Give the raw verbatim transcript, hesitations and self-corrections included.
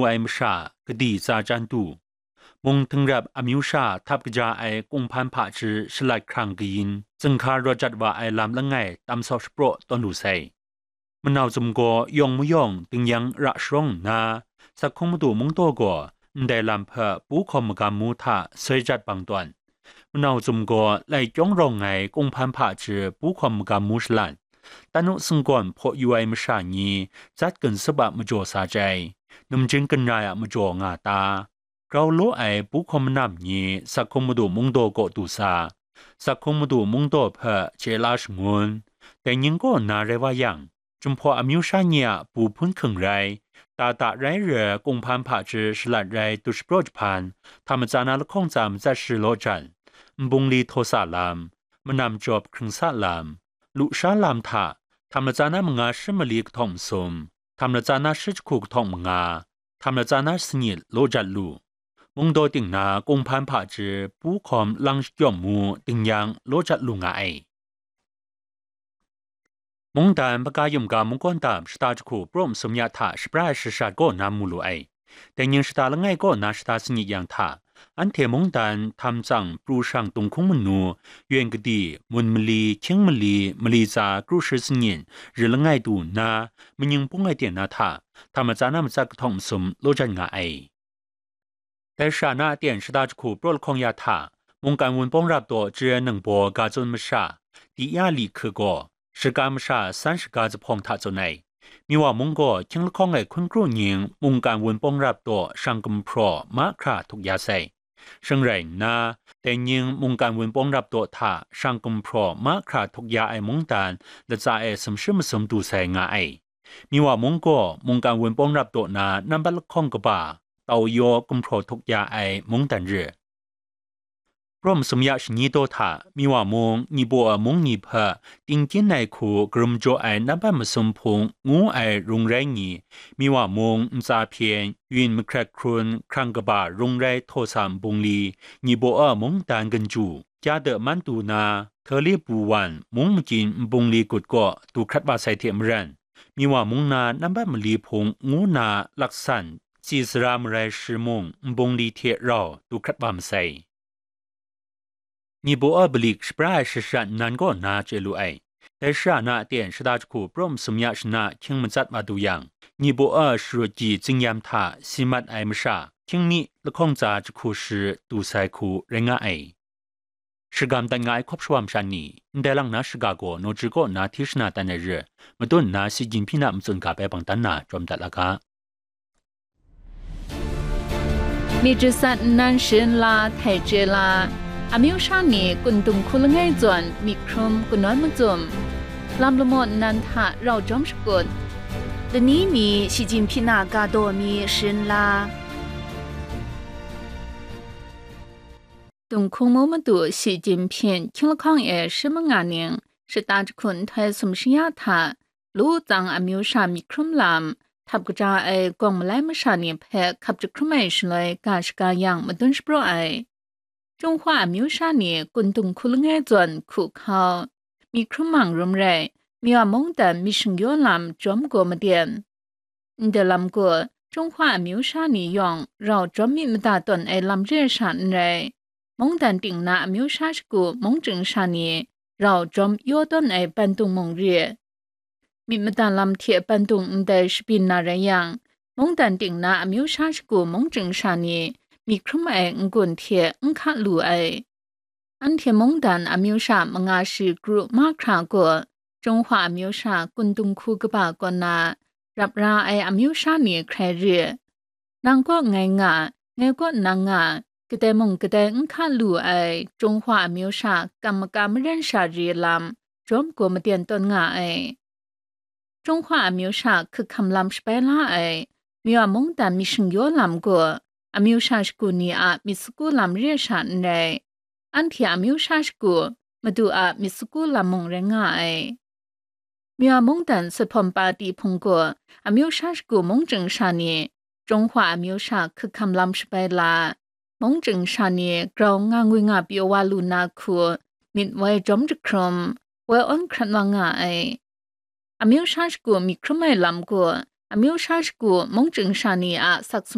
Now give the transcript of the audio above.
ngu ai masha, kadi tsa chyan du. Mung htingrap amyu sha htap kaja ai kunghpan hpaji shalat hkrang kayin, zinghka rawt jat wa ai lam langai tam sawp shapraw tawn lu sai. Manau Zum gaw yawng mayawng dingyang ra sharawng nna, Sakhung Madu Mungdaw gaw ndai lam hpe pu hkawm magam mu hta soi jat bang tawn. Manau Zum gaw lai kyawng rawng ai kunghpan hpaji pu hkawm magam mu shalat, tanu singgawn hpaw yu ai masha ni zat gun sap a majaw sa chyai, numjing gun rai a majaw nga ta, grau law ai pu hkawm manam ni Sakhung Madu Mungdaw kaw du sa, Sakhung Madu Mungdaw hpe chye la shangun, dai ning kaw nna rai wa yang, Jinghpaw amyu sha ni a pu hpun hking rai, da da rai re kunghpan hpaji shalat rai du shapraw jahpan, hta matsa na lahkawng tsa matsat shi law jan, nbungli htaw sa lam, manam jawp hkring sa lam, lusha lam hta, hta matsa na manga shi mali kahtawng masum, hta matsa na shi jahku kahtawng manga, hta matsa na sanyit law jat lu. Mungdaw ting na kunghpan hpaji pu hkawm lang shakyawm mu dingyang law jat lu nga ai. Mungdan Hpaga Yum Ga Mungkawn Dam shata jahku praw masum ya hta shapra ai shashat kaw na mu lu ai. Dai ning shata langai kaw na shata sanyit yang hta, anhte mungdan htam tsang pru shang dunghkung manu, yen kadi, mun mali, hkying mali, mali tsa kru shi sanyit, ri langai du nna, manying pung ai ten na hta, hta matsa na matsat kahtawng masum law jan nga ai. Dai shara na aten shata jahku praw lahkawng ya hta, mungkan wunpawng rap daw jare ningbaw ga tsun masha, di ya li hku gaw, shaga masha san shaga zuphpawng hta tsun ai. Miwa mung gaw hkying lahkawng ai hkun kru ning mungkan wunpawng rap daw shang gumhpraw mahkra htuk ya sai. Shing rai nna, dai ning mungkan wunpawng rap daw hta shang gumhpraw mahkra htuk ya ai mungdan latsa e sumshi masum du sai nga ai. Miwa mung gaw mungkan wunpawng rap daw na nambat lahkawng kaba, tau yaw gumhpraw htuk ya ai mungdan re. Praw masum ya shani daw hta, Miwa mung, Nibaw a mung ni hpe, tingkyin ai hku karum jaw ai nambat masum hpung ngu ai rung rai ni, Miwa mung, ntsa hpyen, yin mahkrat hkrun, hkrang kaba rung rai htaw sa nbungli, Nibaw a mungdan ganju, kya de man du na, Hteli Pu Wan, mung makyin nbungli gut kaw du hkrat wa sai hte maren, Miwa mung na nambat mali hpung ngu na laksan, tsi sara marai shi mung nbungli hte rau du hkrat wa masai. Nibaw a balik shapra ai shashat nnan kaw na chye lu ai. Dai shara na aten shata jahku praw masum ya shana hkying matsat wa du yang, Nibaw a sharut gyi zingyam hta si mat ai masha, hkying mi lahkawng tsa jahku shi du sai hku rai nga ai. Shagam dat nga ai hkawp shawa masha ni, ndai lang na shaga gaw nawji kaw na hti shana dan ai re, madun nna si Jinhpyin a matsun ga bai bang dan na jawm dat la ga. Myit jasat nnan sharin la htai chye la, amyu sha ni kun dung hku langai zawn myit hkrum kanawn macum, lam lamaw nnan hta rau jawm shakut, lani mi Shi Jinhpyin a ga daw mi sharin la. Dunghkung mu madu Shi Jinhpyin hkying lahkawng e shi manga ning shata jahku nhtoi sumshi ya hta, lu tsang amyu sha myit hkrum lam, htap kaja ai gawng malai masha ni hpe hkap jahkrum ai shaloi ga shaga yang madun shapraw ai. Jinghpaw amyu sha ni kun dung hku langai zawn hku hkau, myit hkrum mang rum rai, Miwa mungdan myit shingyaw lam jawm gaw maden. Ndai lam gaw, Jinghpaw amyu sha ni yawng rau jawm myit mada tawn ai lam re ai sha n rai. Mungdan ting na amyu sha shagu mungchying sha ni rau jawm yaw tawn ai bandung mung re. Myit mada lam hte bandung ndai shabyin na rai yang, mungdan ting na amyu sha shagu mungchying sha ni myit hkrum ai n-gun hte n hka lu ai. Anhte mungdan amyu sha manga shi kru mahkra gaw, Jinghpaw amyu sha kun dung hku kaba kaw na, rap ra ai amyu sha ni hkrai re. Nang kaw ngai nga, ngai kaw nang nga, kadai mung kadai n hka lu ai Jinghpaw amyu sha kam maka maren sha re lam, jawm gaw maden tawn nga ai. Jinghpaw amyu sha hkrikhkam lam shabai la ai, Miwa mungdan myit shingyaw lam gaw, amyu sha shagu ni a myit sagu lam re ai sha n rai. Anhte amyu sha shagu, Madu a myit sagu lam mung rai nga ai. Miwa mungdan sut hpawm pati hpung gaw, amyu sha shagu mungchying sha ni, Jinghpaw amyu sha hkrikhkam lam shabai la, mungchying sha ni grau nga ngwi nga pyaw wa lu na hku, myit woi jawm jahkrum, woi awn hkrat wa nga ai. Amyu sha shagu myit hkrum ai lam gaw, amyu sha shagu mungchying sha ni a sak